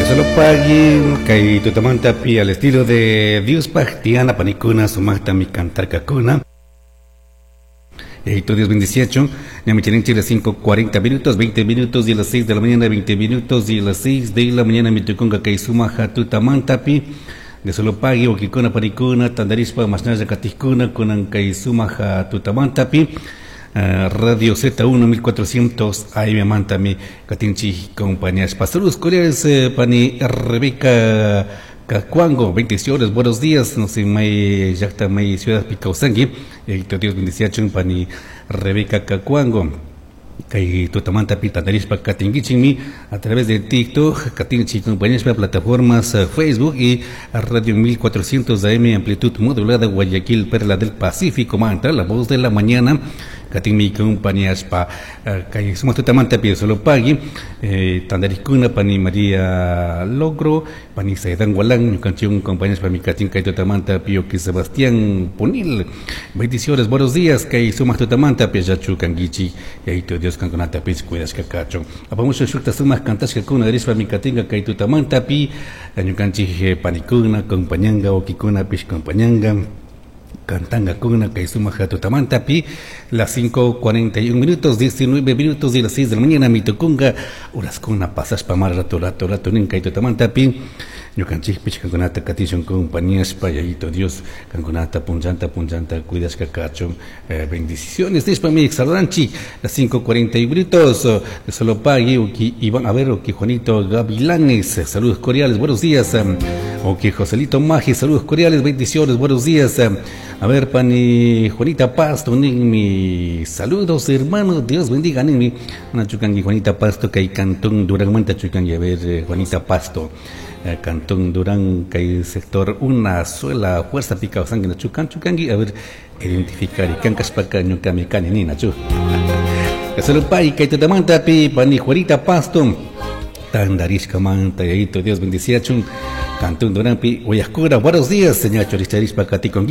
Solo pagui kay tutamantapi al estilo de Diospaj Tiana panikuna sumaqtami cantarkakuna. Yayitu Dios bendiciachun. Ñami charinchik las 5:40 minutos, 20 minutos y a las 6 de la mañana, 20 minutos y a las 6 de la mañana mitukunka kay sumaja tutamantapi. De solo pagui wakikuna panikuna tandarishpa mashnalla katijkuna kunan kay sumaja tutamantapi. Radio Z1 1400 AM mantami katinchik compañías. Saludos cordiales, pani Rebeca Cacuango, bendiciones, buenos días, no sé, may llaqta may ciudad Picausangi, Dios bendiciachun pani Rebeca Cacuango. Kay tutamantapi tandarishpa katinkichikmi a través de TikTok, katinchik compañías plataformas Facebook y Radio 1400 AM amplitud modulada Guayaquil, Perla del Pacífico, Manta, la voz de la mañana, katinmi compañías pa kay sumaq tutamantapi solo pagui, tandarikuna pani María Logro, pani Saidan Gualán, ñukanchik compañías pa mi katin kay tutamantapi que Sebastián Ponil, bendiciones, buenos días, kay sumaq tutamantapi yachu kankichik, yayitu Dios kankunatapis cuidashka kachun. Apamusha shukta sumaq kantashkakuna rishpa mi katinka kay tutamantapi ñukanchik panikuna compañanga wakikunapish compañanga cantangakuna kay sumaq tutamantapi las 5:41 minutos, 19 minutos y las 6 de la mañana mitukunka uraskuna pasashpa mar rato rato rato nin kay tutamantapi ñukanchikpish kankunata katishun compañíaspa yayitu Dios kankunata punllanta punllanta cuidashka kachun, bendiciones nishpa mi saludanchik las 5:41 minutos de solo pagui uki Iván, a ver, uki Juanito Gavilanes, saludos cordiales, buenos días, uki Joselito Magi, saludos cordiales, bendiciones, buenos días, a ver, pani Juanita Pasto, mi saludos hermano, Dios bendiga, ninmi, una chukangi Juanita Pasto, kay Cantón Durán manta chukangi, a ver, Juanita Pasto, Cantón Durán, kay sector una sola fuerza pica sangre chukan chukangi, a ver, identificar y kankashpaka ñukami kani nina chu. Salupay kay tutamanta pi pani Juanita Pasto, tandarishka manta yayitu Dios bendiciachun, Cantón Durán pi Guayascura, buenos días, señor Choricharishpa katikongi.